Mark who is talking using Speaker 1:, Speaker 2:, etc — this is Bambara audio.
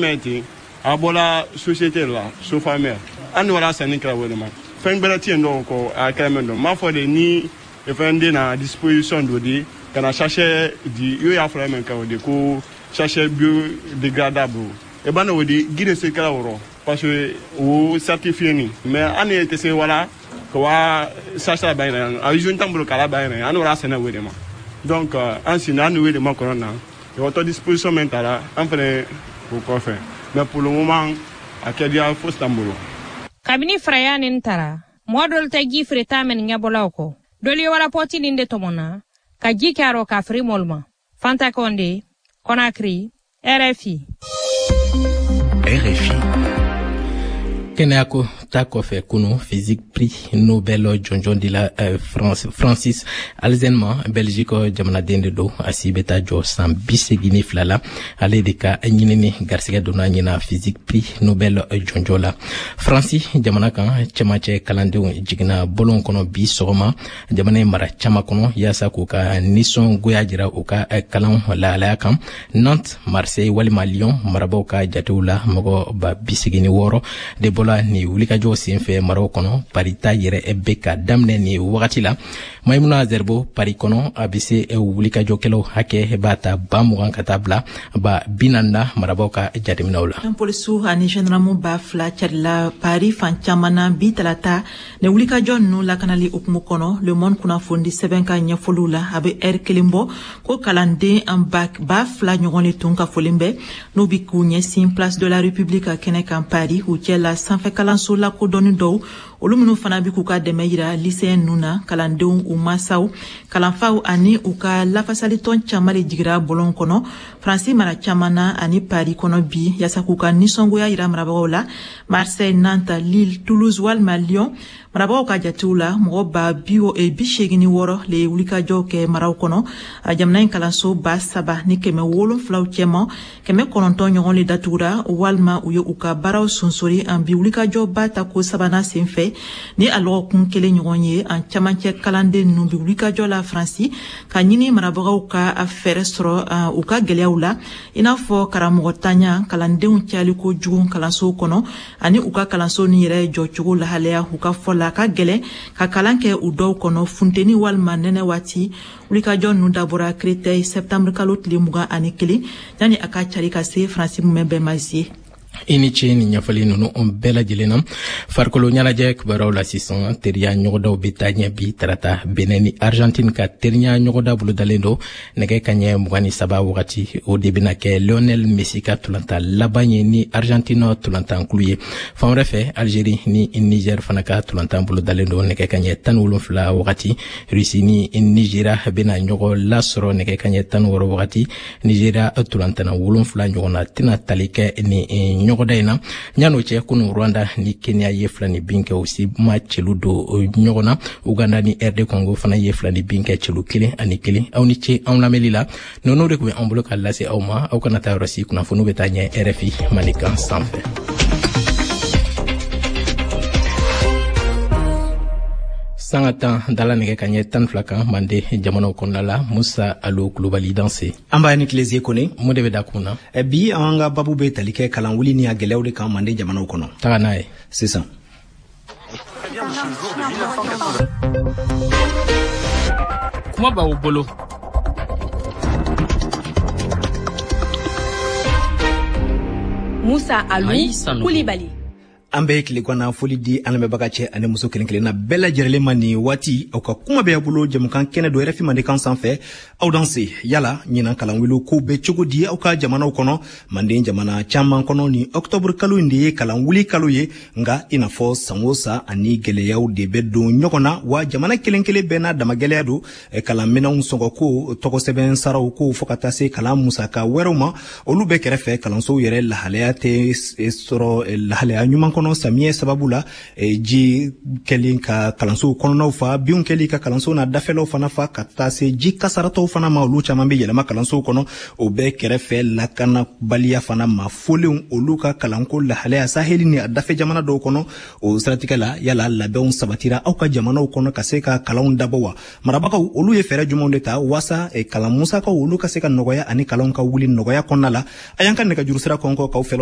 Speaker 1: Mɛ ten a bɔra société la Sofamer an wara sanni kɛra o de ma fɛn gbɛrɛ tɛ yen dɔw kɔ a kɛra mɛn dɔn n b'a fɔ de ni fɛn den na disposition dɔ di ka na sachet di i y'a fɔra mɛn kan o de ko sachet biodégradable e b'a o di gi de se kɛra o rɔ parce que o certifié ni mais an ye tɛ se wala ka wa sachet ba yɛrɛ a usine t'an bolo k'a ba yɛrɛ an wara sɛnɛ o de ma donc an sini an n'o de ma kɔnɔ na o disposition min taara an fɛnɛ o kɔfɛ mais pour le moment a kɛdiya fosi t'an bolo.
Speaker 2: Kabini faraya nin tara mɔgɔ dɔlu tɛ ji feereta mɛn ɲɛbɔlaw kɔ dɔlu ye warapɔti nin de tɔmɔna ka ji kɛ a rɔ k'a feere mɔlu ma. Fanta Kɔnde, Conakry, RFI.
Speaker 3: RFI.
Speaker 4: Kɛnɛyako ta kɔfɛ, kunu physique prix Nobel jɔnjɔn dila France, Francis Halzen ma. Belgique jamanaden de don, a si bɛ taa jɔ san 82 la. Ale de ka ɲinini garisɛgɛ donna ɲina physique prix Nobel jɔnjɔn la. Faransi jamana kan, cɛmancɛ kalandenw jiginna bɔlɔn kɔnɔ bi sɔgɔma jamana in mara caman kɔnɔ, yaasa k'u ka nisɔngoya jira u ka kalan lahalaya kan. Nantes, Marseille walima Lyon marabaw ka jatew la, mɔgɔ 86 000 de bɔla nin wulikajɔw senfɛ maraw kɔnɔ. Paris ta yɛrɛ bɛ ka daminɛ nin wagati la. Maimuna Zerbo, Paris kɔnɔ, a bɛ se wulikajɔkɛlaw hakɛ b'a ta 20 000 ka taa bila 40 000 na marabaw ka jateminɛw la.
Speaker 5: Polisiw ani gendarme 2000 carila Paris fan caman na bi talata ni wulikajɔ ninnu lakanali hukumu kɔnɔ. Le Monde kunnafoni sɛbɛn ka ɲɛfɔliw la, a bɛ ɛri kelen bɔ ko kalanden 2000 ɲɔgɔn de tun ka folen bɛ n'u bi k'u ɲɛsin Place de la République kɛnɛ kan Paris. U cɛ la, sanfɛ kalanso lakodɔnni dɔw, olu minnu fana bi k'u ka dɛmɛ yira lycéen ninnu na. Kalandenw, u masaw, kalanfaw ani u ka lafasalitɔn caman de jigira bɔlɔn kɔnɔ Faransi mara caman na ani Paris kɔnɔ bi, yaasa k'u ka nisɔngoya yira marabagaw la. Marseille, Nantes, Lille, Toulouse walima Lyon marabagaw ka jatew la, mɔgɔ 86 000 le ye wulikajɔw kɛ maraw kɔnɔ. Jamana in kalanso 3700 cɛman, 900 ɲɔgɔn le datugura walima u ye u ka baaraw sonsori an bi wulikajɔba ta ko sabanan sen fɛ. Ni a lɔgɔkun kelen ɲɔgɔn ye, an camancɛ kalanden ninnu bi wulikajɔ la Faransi ka ɲini marabagaw ka fɛɛrɛ sɔrɔ u ka gwɛlɛyaw la, i n'a fɔ karamɔgɔ tanya, kalandenw cayaliko jugu kalansow kɔnɔ ani u ka kalanso ni yɛrɛ jɔcogo lahalaya. U ka fɔ la, ka gwɛlɛn ka kalan kɛ u dɔw kɔnɔ funteni walima nɛnɛ waati. Wulikajɔ ninnu dabɔra Créteil septembre kalo tile 21, yanni a ka cari ka se Faransi mumɛ bɛɛ ma zie.
Speaker 4: I ni ce ni ɲɛfɔli ninnu bɛɛ lajɛlen na. Farikolo ɲɛnajɛ kibaruyaw la sisan, teriya ɲɔgɔndaw bɛ taa ɲɛ bi tarata. Benin ni Argentine ka teriya ɲɔgɔnda bolodalen don nɛgɛ kaɲɛ 23 wagati. O de bɛna kɛ Lionel Messi ka tolantan laban ye ni Argentine tolantankulu ye. Fan wɛrɛ fɛ, Algérie ni Niger fana ka tolantan bolodalen don nɛgɛ kaɲɛ 17 wagati. Russie ni Nigeria bɛna ɲɔgɔn lasɔrɔ nɛgɛ kaɲɛ 16 wagati. Nigeria tolantanna wolonfila ɲɔgɔnna tɛna tali kɛ ni ɲɔgɔnda in na. Yan'o cɛ, kunu Rwanda ni Kenya ye 2 ni bin kɛ, u si ma celu don ɲɔgɔn na. Uganda ni RD Congo fana ye 2 ni bin kɛ, celu 1-1. Aw ni ce anw lamɛnli la. Ninnu de tun bɛ an bolo ka lase aw ma. Aw kana taa yɔrɔ si, kunnafoniw bɛ taa ɲɛ RFI Mandenkan sanfɛ. Sanga 10 dala nɛgɛ ka ɲɛ 12 kan Mande jamanaw kɔnɔna la. Musa Alo Kulubali, danse.
Speaker 6: An b'a ni tilese Kone.
Speaker 4: Mun de bɛ da kun na?
Speaker 6: Bi an ka babu bɛ tali kɛ kalan wuli ni a gɛlɛyaw de kan Mande jamanaw kɔnɔ.
Speaker 4: Taga n'a ye.
Speaker 6: Sisan.
Speaker 7: Kuma b'aw bolo.
Speaker 8: Musa Alu Kulibali.
Speaker 6: An bɛ tilegwana foli di an lamɛnbaga cɛ ani muso kelen kelenna bɛɛ lajɛrɛlen ma nin waati. Aw ka kuma bɛ bolo jamukan kɛnɛ do RFI Mandenkan sanfɛ. Aw danse. Yala ɲinan kalanwuli kow bɛ cogo di aw ka jamanaw kɔnɔ? Manden jamana caman kɔnɔ, ni ɔktɔburu kalo in de ye kalanwuli kalo ye, nga i n'a fɔ san o san, ani gwɛlɛyaw de bɛ don ɲɔgɔn na wa. Jamana kelen kelen bɛɛ n'a dama gwɛlɛya don: kalanminɛnw sɔngɔko, tɔgɔsɛbɛn saraw ko, fɔɔ ka taa se kalan musaka wɛrɛw ma. Olu bɛɛ kɛrɛfɛ, kalansow yɛrɛ lahalaya tɛ sɔrɔ lahalaya ɲuman kɔnɔ. kɔnɔ samiyɛ sababu la, ji kɛlen ka kalansow kɔnɔnaw fa, binw kɛli ka kalansow n'a dafɛlaw fana fa, ka taa se ji kasaratɔw fana ma, olu caman bɛ yɛlɛma kalansow kɔnɔ. O bɛɛ kɛrɛfɛ, lakanabaliya fana ma folenw olu ka kalanko lahalaya Saheli ni a dafɛ jamana dɔw kɔnɔ. O siratigɛ la, yala labɛnw sabatira aw ka jamanaw kɔnɔ ka se ka kalanw dabɔ wa? Marabagaw olu ye fɛɛrɛ jumɛnw de ta waasa kalan musakaw olu ka se ka nɔgɔya ani kalanw ka wuli nɔgɔya kɔnɔna la? A y'an ka nɛgɛjuru sira kɔnkɔ k'aw fɛlaw.